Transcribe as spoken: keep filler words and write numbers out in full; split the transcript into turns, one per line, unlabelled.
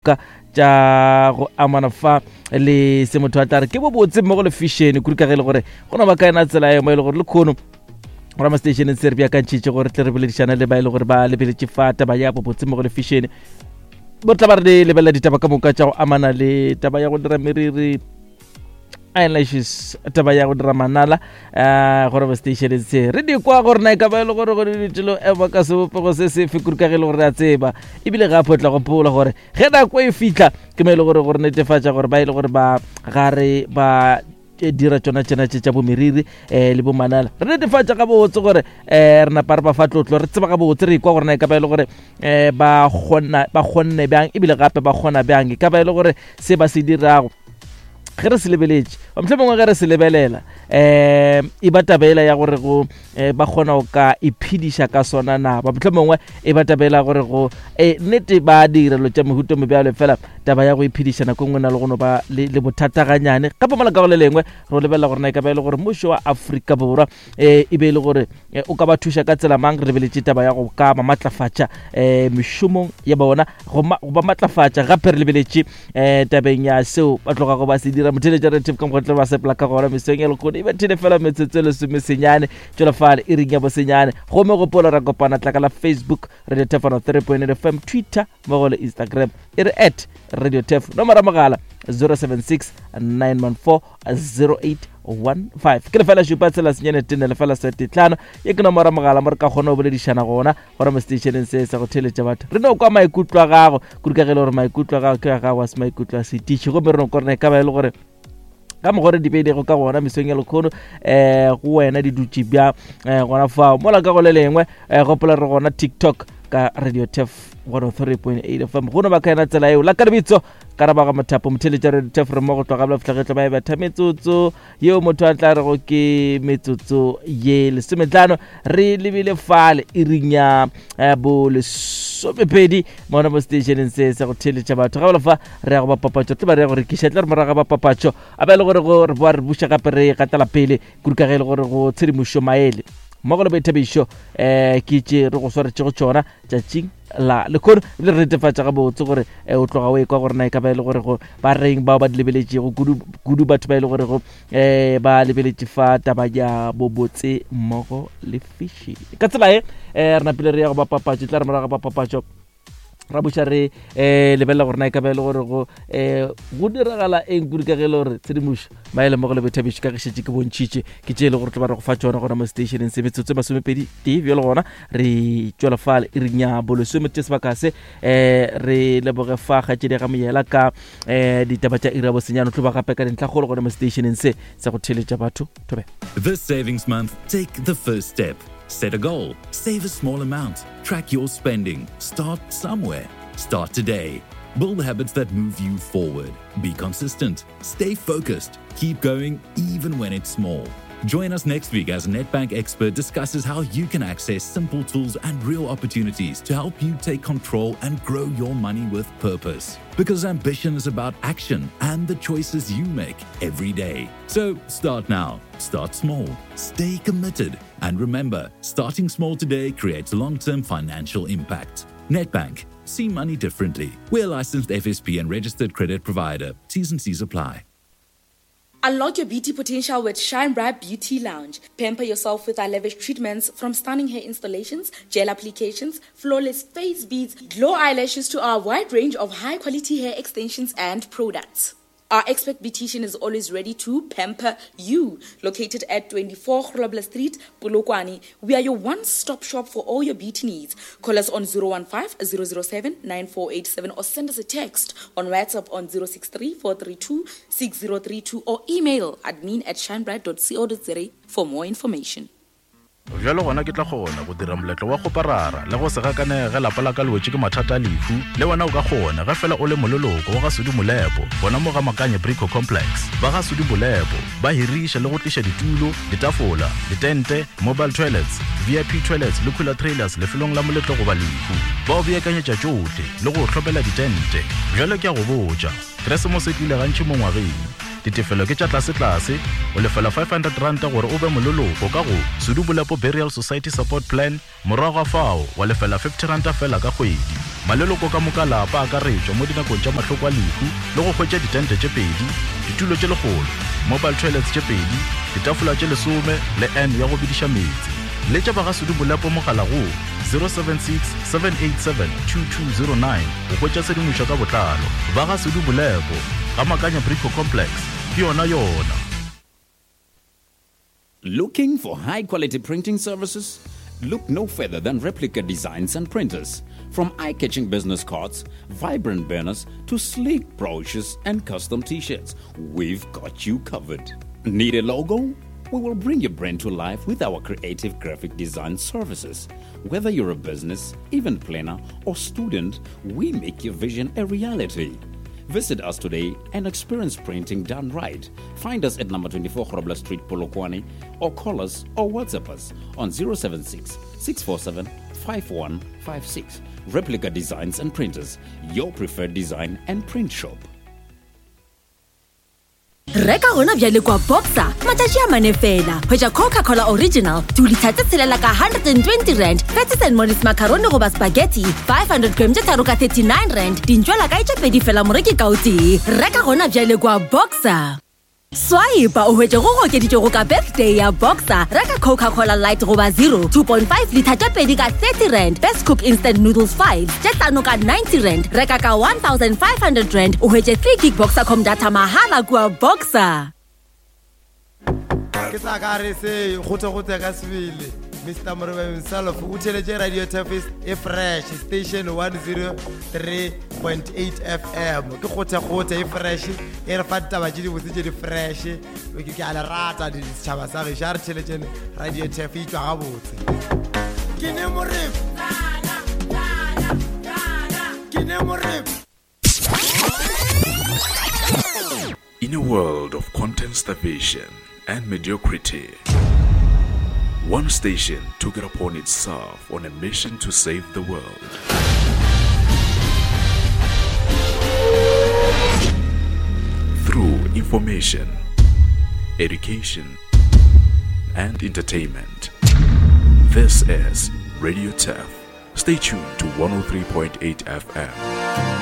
Ka tša go amana fa le se motho a tla re ke bobotse mmogo le fashion, kudu ka ge e le gore go no ba ka ena tsela e mo e le gore le kgono gona mo stationeng se re beakantšhitše gore tle re boledišana le ba e le gore ba lebeletše fa taba ya bobotse mmogo le fashion. Bo tla ba re lebelela ditaba ka moka tša go amana le taba ya go dira meriri, eyelashes, taba ya go dira manala, um gore mo stationeng se re di kwa gore na e ka ba e le gore gore ditilo ema ka sebopego se sefe, kudu ka ge e le gore re a tseba. Ebile gape o tla gopola gore ge nako e fitlha ke mo e le gore gore netefatša gore ba e le gore ba gare ba dira tšona tšena tše tša bomeriri um le bomanala, re netefatša gabotse gore um re napa re ba fa tlotlo, re tseba gabotse, re ikwa gore na e ka ba e le gore um ba kgona, ba kgonne bjang, ebile gape ba kgona bjang. E ka ba e le gore se ba se dirago ge re se lebeletše, mohlomongwe ge re se lebelela um e ba tabela ya gore go um ba kgona go ka iphediša ka sona na, ba mohlomongwe e ba tabela gore go um nnete ba dira dilo tša mehuta mebjalo, fela taba ya go iphediša nako nngwe na le go no ba le, le bothataganyane. Gape mola ka go le lengwe re lebelela gore na e ka ba e le gore mmušo wa Afrika Borwa um e be e le gore o ka ba thuša ka tsela mang. Re lebeletše taba ya go ka ba matlafatša um mešomong ya bona, go ba matlafatša. Gape re lebeletše um tabeng ya seo ba tlogago ba se dira. Motheletša re ka mokgwa ba sepela ka gona mesong ya lekgono e bethile fela metsotso e lesomesenyane tšwela fale e ring ya bosenyane. Gomme gopola ra kopana tlaka la Facebook Radio Tefano three point eight F M, Twitter mmogo le Instagram e re at Radio Tef, nomoro ya mogala zero seven six nine one four zero eight one five. Ke lefela šupa tshela senyane tene lefela sete tlhano, ye ke nomoro ya mogala mo re ka kgona go boledišana gona gona mo stationeng se sa go theletša batho. Re no kwa maikutlo a gago, kudu ka ge e le gore maikutlo a gago ke a gago a se maikutlo a setiši. Gomme re no kwa gore e ka ba e le gore ka mokgwa re di beilego ka gona mesong ya lekgono um go wena di dutše bjang um gona fao. Mola ka go le lengwe um gopola re gona TikTok ka Radio Tef one oh three point eight F M. Go no ba ka yena tsela eo la ka lebitso ka rabaga mothapo motheletša Radio Tef re mo go tloga bla fihla ba e betha metsotso yeo motho a tla rego ke metsotso ye lesometlhano. Re lebile fale iring ya bo lesomepedi mona mo stationeng se sa go theletša batho. Ga ba fa re ya go ba papatšo, tle ba re ya go rekiša, tle re morago ga ba papatšo a ba e le gore go re boa re buša gape re gatela pele kudu ka ge e le gore go tshedimošo maele mmogo le boithabišo um ke tše re go swaretšego tšona tšatšing la lekgono. Ebile re netefatša gabotse gore o tloga o ekwa gore na e ka ba e le gore go ba reng bao ba di lebeletšego, kudu kudu batho ba e le gore go um ba lebeletše fa taba ya bobotse mmogo le fashion. Ka tsela e um re napile re ya go ba papatšo, tla re morago ga ba papatšo ra buša re um lebelela gore na e ka ba e le gore go um go diragala eng kudu ka ge e le gore tshedimošo maele mmogo le boithabišo ka ge šetše ke bontšhitše ke tše e le gore tlo ba re go fa tšona gona mo stationeng se. Metsotso e masomepedi tee bjalo gona re tšwela fale e reng ya bolesome tše sebaka se um re leboge fa kgatšedi ga moyela ka um ditaba tša iri ya bosenyane tlo ba gape ka dintlhakgolo gona mo stationeng se sa go theletša batho. Thobe.
This savings month, take the first step. Set a goal, save a small amount, track your spending, start somewhere. Start today. Build habits that move you forward. Be consistent, stay focused, keep going even when it's small. Join us next week as Nedbank Expert discusses how you can access simple tools and real opportunities to help you take control and grow your money with purpose. Because ambition is about action and the choices you make every day. So start now, start small, stay committed. And remember, starting small today creates long-term financial impact. Nedbank, see money differently. We're a licensed F S P and registered credit provider. T's and C's apply.
Unlock your beauty potential with Shine Bright Beauty Lounge. Pamper yourself with our lavish treatments, from stunning hair installations, gel applications, flawless face beads, glow eyelashes to our wide range of high-quality hair extensions and products. Our expert beautician is always ready to pamper you. Located at twenty-four Grobler Street, Polokwane, we are your one-stop shop for all your beauty needs. Call us on zero one five, zero zero seven, nine four eight seven or send us a text on WhatsApp on zero six three, four three two, six zero three two or email admin at shinebright dot co dot za for more information.
Bjalo gona ke tla kgona go dira moletlo wa go parara le go se gakanege lapa la ka le wetše ke mathata a lehu. Le wena o ka kgona ge fela o le moleloko wa ga Sudi Molepo gona mo ga Makanye Brico Complex. Ba ga Sudi Molepo ba hiriša le go tliša ditulo, ditafola, ditente, mobile toilets, V I P toilets le cooler trailers lefelong la moletlo goba lehu. Ba o beakanyetša tšohle le go o hlopela ditente. Bjalo ke a go botša, Keresemose e tlile gantši mo ngwageng. Ditefelo ke tša tlasetlase, o lefela five hundred ranta gore o be moleloko ka go Sudu Bolepo Burial Society Support Plan, morago ga fao wa lefela fifty ranta fela ka kgwedi. Maleloko ka moka lapa a akaretšwa mo dinakong tša mahloko a lehu le go hwetša ditente tše pedi, ditulo tše lekgolo, mobile toilets tše pedi, ditafola tše lesome le N ya go bidiša meetse. Letša ba ga Sudu Bolepo mogala go zero seven six, seven eight seven, two two zero nine go hwetša tshedimošo ka botlalo. Ba ga Sudu Bolepo, ga Makanya Brico Complex, ke yona yona.
Looking for high quality printing services? Look no further than Replica Designs and Printers. From eye-catching business cards, vibrant banners, to sleek brochures and custom t-shirts, we've got you covered. Need a logo? We will bring your brand to life with our creative graphic design services. Whether you're a business, event planner, or student, we make your vision a reality. Visit us today and experience printing done right. Find us at number twenty-four Grobler Street, Polokwane, or call us or WhatsApp us on zero seven six, six four seven, five one five six. Replica Designs and Printers, your preferred design and print shop.
Reka gona bjale kwa Boxer, matšatši a mane fela. Hwetša Coca-Cola Original, two litre tse tshelela ka hundred and twenty rand, Patties and Molly's macaroni goba spaghetti, five hundred gram tše tharo ka thirty-nine rand, dintšwela kae tše pedi fela moreki ka o tee. Reka gona bjale kwa Boxer. Swipe o hwetše go okeditšwego ka birthday ya Boxer. Reka Coca-Cola Light goba zero, two point five litre tše pedi ka thirty rand, Best Cook Instant Noodles five tše hlano ka ninety rand. Reka ka one thousand five hundred rand o hwetše three gig Boxercom data mahala kua Boxer.
Ke tla ka re se gote-gote ka sebele. Mister Morobe himself o theletše Radio Turfis e fresh station one zero three point eight F M. Ke gote-gote e fresh e re fa ditaba tše dibotse tše di fresh. Ke ke a le rata di setšhaba sa gešo, a re theletšeng Radio Turf e tšwa gabotse. Ke ne Morebe. Ke ne Morebe.
In a world of content starvation and mediocrity, one station took it upon itself on a mission to save the world. Through information, education, and entertainment. This is Radio Turf. Stay tuned to one oh three point eight F M.